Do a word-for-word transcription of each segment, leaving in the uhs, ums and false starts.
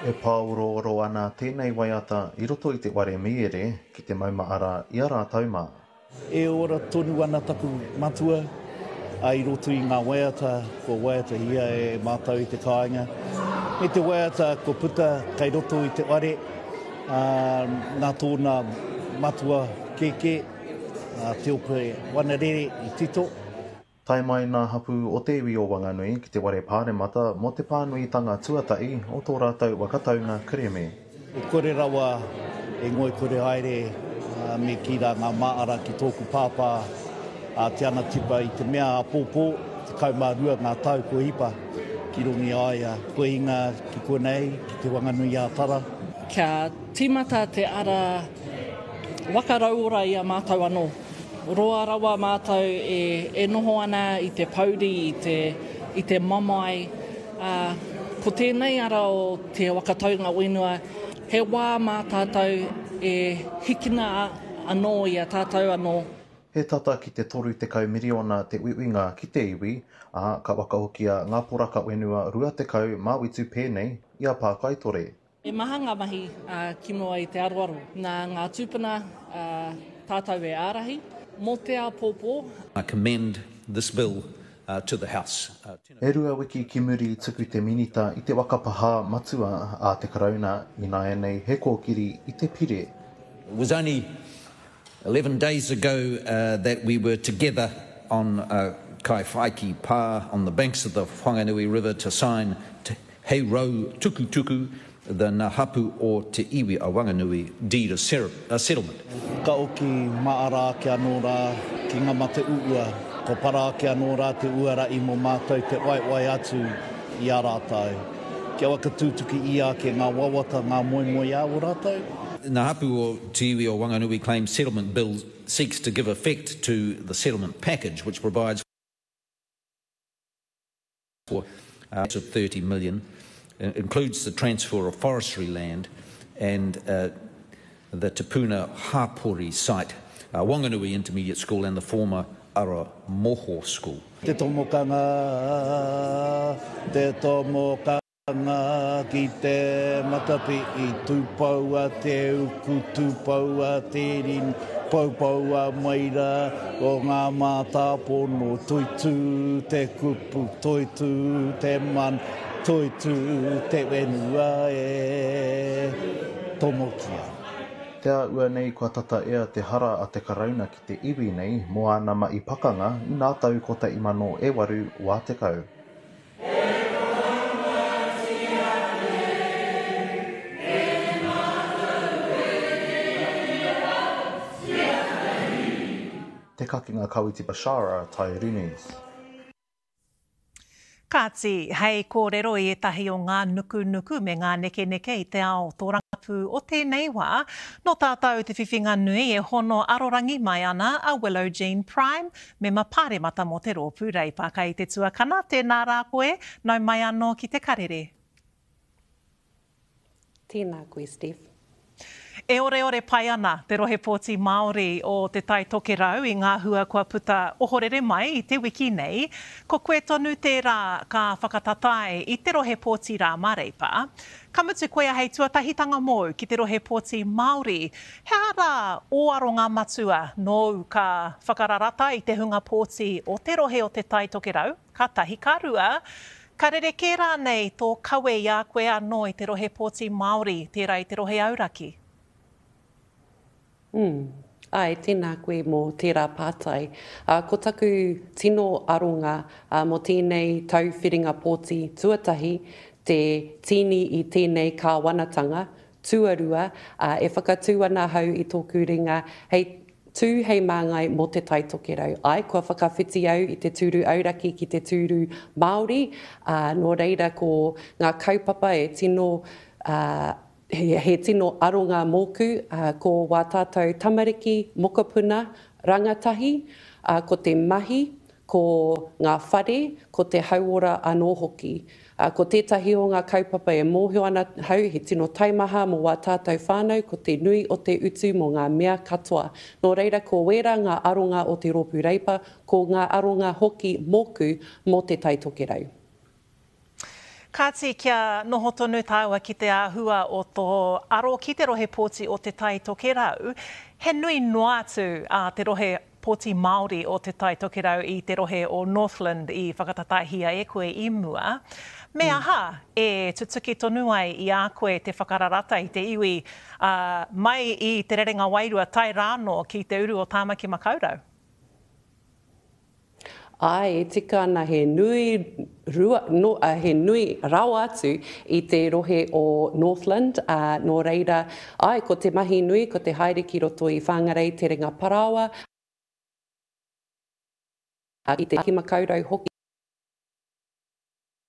E pāorooro ana tēnei waiata i roto i te ware mīere ki te maumahara i a rātou mā. E ora tonu ana taku matua i roto i ngā waiata kua waiatahia e mātou i te kāinga. Me te waiata kua puta kei roto i te ware, nā tōna matua kēkē, a Te Ope Wanarere i tito. Tae mai nā hapū o te iwi o Wanganui ki te ware pāremata mō te pānuitanga tuatahi o tō rātou waka taunga kerēme. E kore rawa e ngoikore haere me kī rā ngā māra ki tōku pāpā a Te Anatipa i te mea āpōpō, tekau mā rua ngā tau kua hipa ki runga i a ia, kua hinga ki konei, ki Te Whanganui-ā-Tara. Kia tīmata te ara waka rauora i a mātou anō. Roa rawa mātou e, e noho ana i te pouri, i te, i te mamae. Ā, ko tēnei ara o te waka taunga whenua, he wā mā tātou e hikina anō i a tātou anō. He tata ki te toru tekau miriona te uiuinga ki te iwi, ā, ka whakahokia ngā poraka whenua rua tekau mā whitu pēnei i a Pākaitore. He maha ngā mahi ki mua i te aroaro. Nā ngā tūpuna tātou e ārahi mō te āpōpō. I commend this bill to the House. E rua wiki ki muri i tuku te Minita i te waka pahā matua a te Karauna, ināianei he kōkiri i te pire. It was only eleven days ago that we were together on Kaiwhaiki Pā on the banks of the Whanganui River to sign He Rau Tukutuku, the Nga Hapu o Te Iwi a Wanganui Deed of Settlement. Ka oki maara ake anō rā ki ngā mate uua, kua para ake anō rā te uara i mō mātou te waewae atu i a rātou, kia whakatutuki ia ake ngā wawata, ngā moemoeā o rātou. Nga Hapu o Te Iwi o Wanganui Claims Settlement Bill seeks to give effect to the settlement package which provides for of thirty million, includes the transfer of forestry land and uh, the Te Puna Hapori site, uh, Wanganui Intermediate School and the former Aramoho School. Te tomokanga, te tomokanga ki te matapihi, tūpoua te uku, tūpoua te ringa, poupoua mai rā o ngā mātāpono, toitū te kupu, toitū te mana, toitū te whenua e tomokia. Te āhua nei kua tata ea te hara a te Karauna ki te iwi nei mō āna mahi pakanga i ngā tau kotahi mano e waru wā tekau. Te Kakenga Kawiti Bashara, Taiuru News. Kāti, hei kōrero i ētahi o ngā nukunuku me ngā nekeneke i te ao tōrangapū o tēnei wā, nō tātou te whiwhinga nui e hono arorangi mai ana a Willow Jean Prime, mema pāremata mō te rōpū Reipa. Kei te tuakana, tēnā rā koe, nau mai anō ki te karere. Tēnā koe, Steph. E oreore pai ana te rohe pōti Māori o Te Tai Tokerau i ngā hua kua puta ohorere mai i te wiki nei. Ko koe tonu tērā ka whakatatae i te rohe pōti rā mā Reipa. Ka mutu koia hei tuatahitanga mōu ki te rohe pōti Māori. He aha rā ō aronga matua nōu ka whakararata i te hunga pōti o te rohe o Te Tai Tokerau, ka tahi ka rua, ka rerekē rānei tō kawe i a koe anō i te rohe pōti Māori, tērā i te rohe auraki? Mm. Ai, tēnā koe mō tērā pātai. Uh, ko taku tino aronga uh, mō tēnei tau whiringa pōti tuatahi, te tīni i tēnei kāwanatanga, tuarua, uh, e whakatū ana hau i tōku ringa hei tū hei māngai mō Te Tai Tokerau. Ai, kua whakawhiti au i te tūru auraki ki te tūru Māori, uh, nō reira ko ngā kaupapa e tino uh, He, he tino aronga mōku, uh, ko wā tātou tamariki, mokopuna, rangatahi, uh, ko te mahi, ko ngā whare, ko te hauora anō hoki. Uh, ko tētahi o ngā kaupapa e mōhio ana hau, he tino taimaha mō wā tātou whānau, ko te nui o te utu mō ngā mea katoa. Nō reira, ko wērā ngā aronga o te rōpū Reipa, ko ngā aronga hoki mōku mō Te Tai Tokerau. Kāti, kia noho tonu tāua ki te āhua o tō aro ki te rohe pōti o Te Tai Tokerau, he nui noa atu a te rohe pōti Māori o Te Tai Tokerau i te rohe o Northland i whakatatahia e koe i mua. Me aha e tutuki tonu ai i a koe te whakararata i te iwi uh, mai i te rerenga wairua tae rānō ki te uru o Tāmaki Makaurau? Ai, e tika ana he nui, rua, no, uh, he nui rawa atu i te rohe o Northland, uh, nō reira, ai, ko te mahi nui, ko te haere ki roto i Whangarei, Te Renga Paraoa, i te Makaurau hoki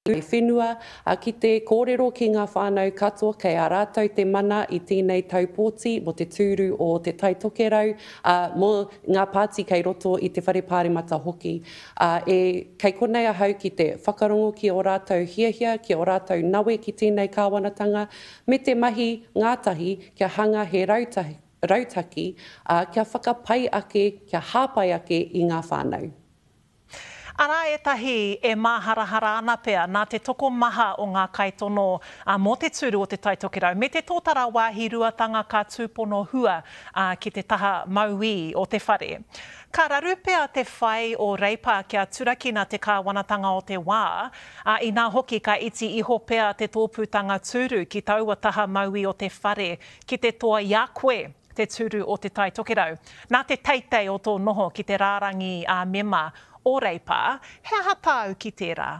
whenua, ki te kōrero ki ngā whānau katoa kei a rātou te mana i tēnei tau pōti mō te tūru o Te Tai Tokerau, mō ngā pāti kei roto i te whare pāremata hoki. E, kei konei ahau ki te whakarongo ki o rātou hiahia, ki o rātou nawe ki tēnei kāwanatanga, me te mahi ngātahi kia hanga he rautahi, rautaki, kia whakapai ake, kia hāpai ake i ngā whānau. Arā ētahi e māharahara ana pea nā te tokomaha o ngā kaitono mō te tūru o Te Tai Tokerau me te tōtara wāhi ruatanga ka tūpono hua ki te taha mauī o te whare. Ka raru pea te whai o Reipa kia turakina te kāwanatanga o te wā, inā hoki ka iti iho pea te tōpūtanga tūru ki taua taha mauī o te whare ki te toa i a koe te tūru o Te Tai Tokerau. Nā te teitei o tō noho ki te rārangi a mema o Reipa, he aha tāu ki tērā?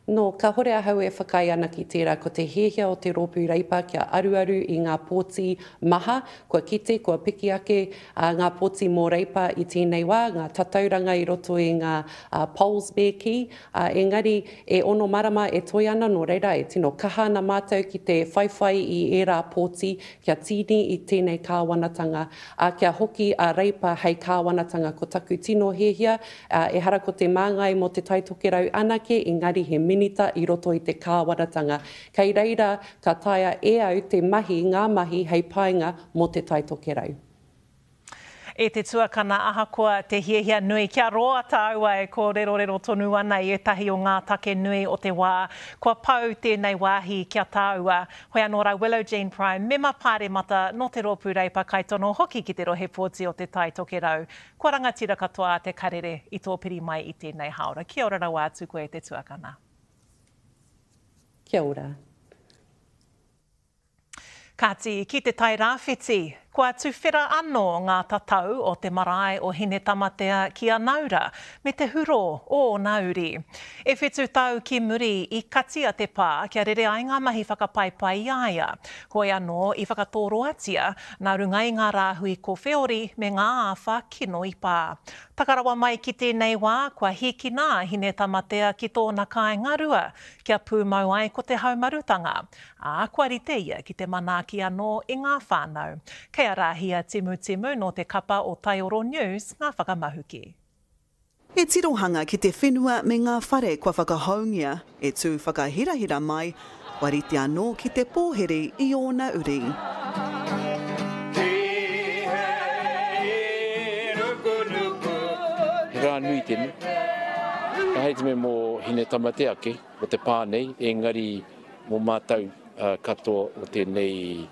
No, kāhore ahau e whakaae ana ki tērā, ko te hiahia o te rōpū Reipa kia aruaru i ngā pōti maha, kua kite, kua piki ake uh, ngā pōti mō Reipa i tēnei wā, ngā tatauranga i roto i ngā uh, polls me kī, uh, engari e ono marama e toi ana, nō reira e tino kaha ana mātou ki te whaiwhai i ērā pōti kia tīni i tēnei kāwanatanga, uh, kia hoki a Reipa hei kāwanatanga. Ko taku tino hiahia, uh, ehara ko te māngai mō Te Tai Tokerau anake, engari he minita i roto i te kāwanatanga. Kei reira ka taea e au te mahi, ngā mahi hei painga mō Te Tai Tokerau. E te tuakana ahakoa te hiahia nui, kia roa tāua e kōrerorero tonu ana i ētahi o ngā take nui o te wā. Kua pau tēnei wāhi kia tāua. Hoi anō rā Willow Jean Prime, mema pāremata nō te rōpū Reipa kaitono hoki ki te rohe pōti o Te Tai Tokerau. Kua rangatira katoa te karere i tō piri mai i tēnei haora. Kia ora rawa atu koe te tuakana. Kia ora. Kāti, ki te Tai Rāwhiti, kua tuwhera anō ngā tatau o te marae o Hinetamatea ki Anaura me te huro o ōna uri. E whitu tau ki muri i katia te pā kia rere ai ngā mahi whakapaipai i a ia. Hoi anō i whakatōroatia nā runga i ngā rāhui kowheori me ngā āwha kino i pā. Takarawa mai ki tēnei wā, kua hīkina a Hinetamatea ki tōna kāinga rua, kia pūmau ai ko te haumarutanga. Ā, kua rite ia ki te manaaki anō i ngā whānau. Kei a Rāhia Timu Timu nō te kapa o Taioro News ngā whakamahuki. He tirohanga ki te whenua me ngā whare kua whakahoungia, e tū whakahirahira mai, kua rite anō ki te pōhiri i ōna uri. He rā nui tēnei. Ka hei te me mō Hinetamatea ake, o te pā nei, engari mō mātou uh, katoa o tēnei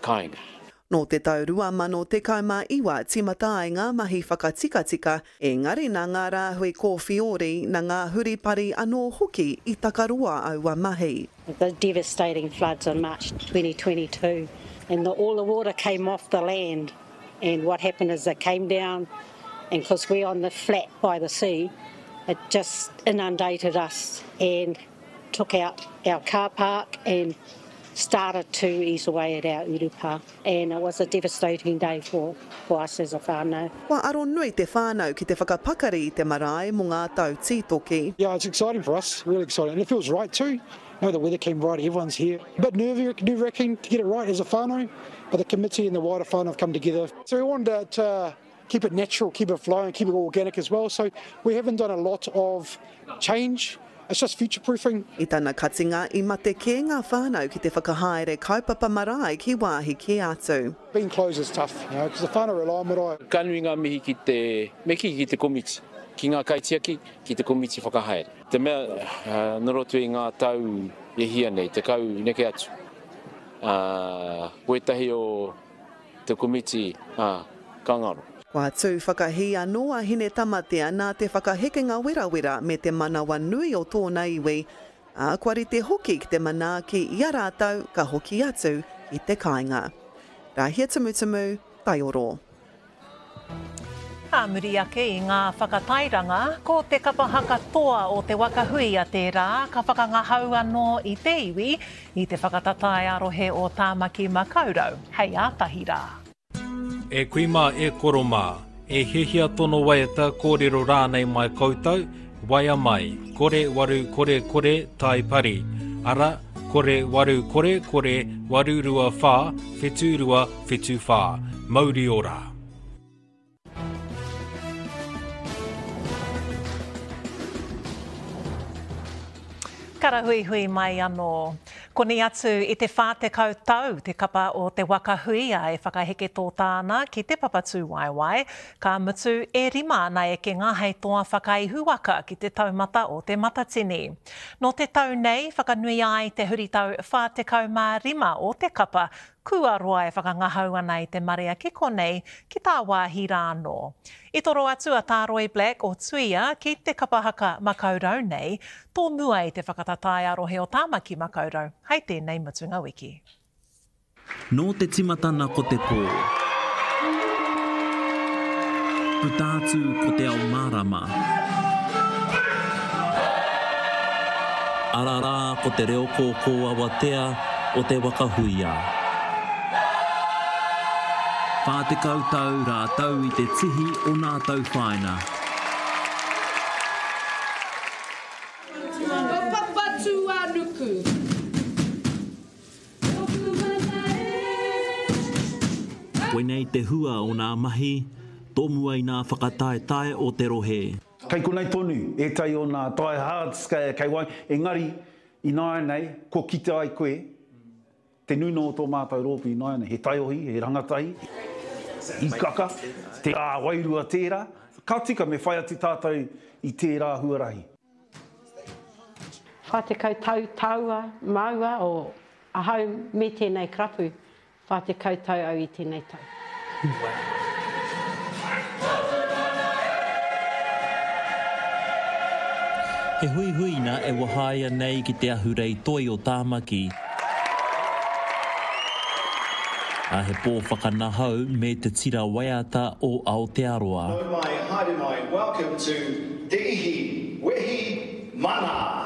kāinga. Nō te tau rua mano tekau mā iwa tīmata ai ngā mahi whakatikatika, engari nā ngā rāhui kōwhiori, nā ngā huripari anō hoki i takaroa aua mahi. The devastating floods in March twenty twenty-two, and the, all the water came off the land, and what happened is it came down, and because we're on the flat by the sea, it just inundated us and took out our car park and started to ease away at our urupa, and it was a devastating day for, for us as a whānau. Kua aro nui te whānau ki te whakapakari i te marae mō ngā tau tītoki. Yeah, it's exciting for us, really exciting, and it feels right too. You know, the weather came right, everyone's here. A bit nerve-wracking to get it right as a whānau, but the committee and the wider whānau have come together. So we wanted to uh, keep it natural, keep it flowing, keep it organic as well. So we haven't done a lot of change. It's just future-proofing. I tana katinga i mate kē ngā whānau ki te whakahaere kaupapa marae ki wāhi ki atu. Being closed is tough, you know, because the whānau rely on marae. Ka nui ngā mihi ki te, me ki ki te komiti, ki ngā kaitiaki, ki te komiti whakahaere. Te mea, nō roto i ngā tau e hia nei, tekau neke atu, ko ētahi o te komiti ka ngaro. Kua tū whakahī anō a Hine Tamatea nā te whakahekenga werawera me te manawa nui o tōna iwi, ā, kua rite hoki ki te manaaki i a rātou ka hoki atu ki te kāinga. Rāhia Tumutumu, Taioro. Ā muri ake i ngā whakatairanga, ko te kapa haka toa o Te Waka Huia tērā ka whakangahau anō i te iwi i te whakatatae a-rohe o Tāmaki Makaurau hei ātahi rā. E kui mā, e koro mā, e hiahia tono waiata kōrero rānei mai koutou, waea mai, kore waru kore kore tai pari, ara, kore waru kore kore waru rua whā, whitu rua whitu whā. Mauri ora. Karahuihui mai anō. Koni atu i te whā tekau tau te kapa o Te Waka Huia e whakaheke tōtā ana ki te Papatūwaewae, ka mutu e rima ana ekenga hei toa whakaihuwaka ki te taumata o te Matatini. Nō te tau nei, whakanuia ai te huritau whā tekau mā rima o te kapa, kua roa e whakangahau ana i te marea ki konei, ki tāwāhi rā anō. I toro atu a Tāroi Black o Tuia ki te kapa haka Makaurau nei, tō mua i te whakatatae a rohe o Tāmaki Makaurau, hei tēnei mutunga wiki. Nō te timatana ko te pō. Puta atu ko te ao mārama. Ara rā ko te reo kōkō awatea o Te Waka Huia. Whā tekau tau rātou i te tihi o nā tauwhāinga. Ko Papatūānuku. Koinei te hua o nā mahi, tō mua i nā whakataetae o te rohe. Kei konei tonu ētahi o nā diehards kei wai, engari ināianei kua kite ai koe te nuna o tō mātou rōpū ināianei, he taiohi, he rangatahi, hikaka, te rā wairua tērā. Ka tika me whai atu tātou i tērā huarahi. Whā tekau tau tāua, māua o ahau me tēnei karapu, whā tekau tau au i tēnei tau. He huihuina e wahaia nei ki te ahurei toi o Tāmaki. A he pō whakanahau me te tira waiata o Aotearoa. Nau mai, haere mai, welcome to Te Ihi, Wehi, Mana!